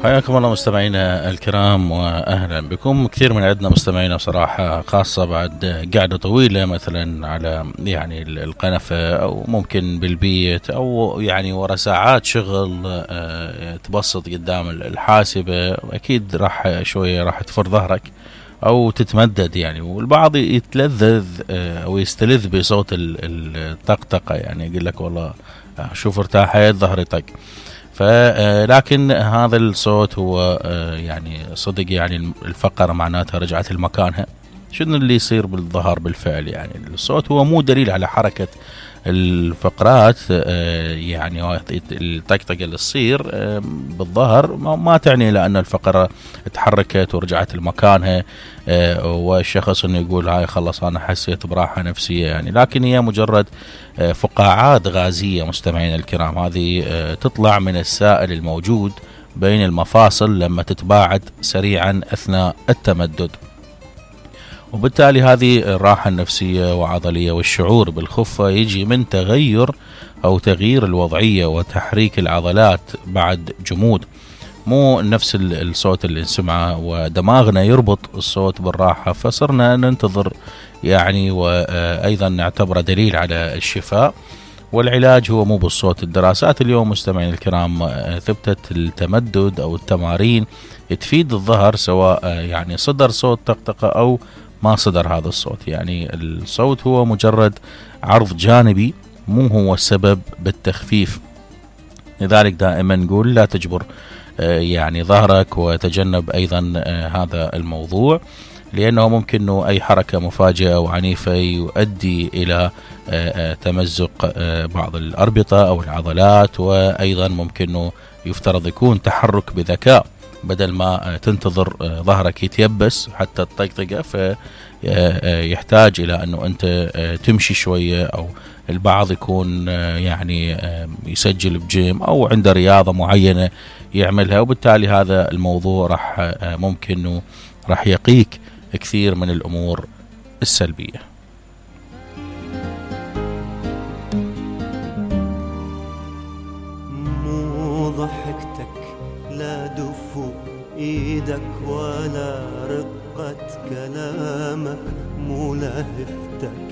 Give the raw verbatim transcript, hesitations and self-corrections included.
حياكم الله مستمعينا الكرام واهلا بكم. كثير من عندنا مستمعينا بصراحه، خاصه بعد قعده طويله مثلا على يعني القنفه او ممكن بالبيت او يعني ورا ساعات شغل تبسط قدام الحاسبه، اكيد راح شويه راح تفر ظهرك او تتمدد يعني، والبعض يتلذذ او يستلذ بصوت الطقطقه، يعني يقول لك والله شوف ارتاحت ظهري طق. فلكن هذا الصوت هو يعني صدق يعني الفقرة معناتها رجعت لمكانها. شنو اللي يصير بالظهر بالفعل؟ يعني الصوت هو مو دليل على حركة الفقرات، يعني الطقطقة اللي تصير بالظهر ما تعني لأن الفقرة تحركت ورجعت لمكانها والشخص انه يقول هاي خلص انا حسيت براحة نفسية يعني، لكن هي مجرد فقاعات غازية مستمعين الكرام، هذه تطلع من السائل الموجود بين المفاصل لما تتباعد سريعا اثناء التمدد، وبالتالي هذه الراحة النفسية وعضلية والشعور بالخفة يجي من تغير أو تغيير الوضعية وتحريك العضلات بعد جمود، مو نفس الصوت اللي نسمعه ودماغنا يربط الصوت بالراحة فصرنا ننتظر يعني، وأيضا نعتبره دليل على الشفاء. والعلاج هو مو بالصوت. الدراسات اليوم مستمعين الكرام ثبتت التمدد أو التمارين تفيد الظهر سواء يعني صدر صوت طقطقة أو ما صدر هذا الصوت، يعني الصوت هو مجرد عرض جانبي مو هو السبب بالتخفيف. لذلك دائما نقول لا تجبر يعني ظهرك، وتجنب أيضا هذا الموضوع لأنه ممكن أنه أي حركة مفاجئة وعنيفة يؤدي إلى تمزق بعض الأربطة أو العضلات، وأيضا ممكن أنه يفترض يكون تحرك بذكاء بدل ما تنتظر ظهرك يتيبس حتى الطقطقة، فيحتاج إلى أنه أنت تمشي شوية، أو البعض يكون يعني يسجل بجيم أو عنده رياضة معينة يعملها، وبالتالي هذا الموضوع راح ممكن أنه راح يقيك كثير من الأمور السلبية. مو ضحكتك لا دفو ايدك ولا رقة كلامك، مو لهفتك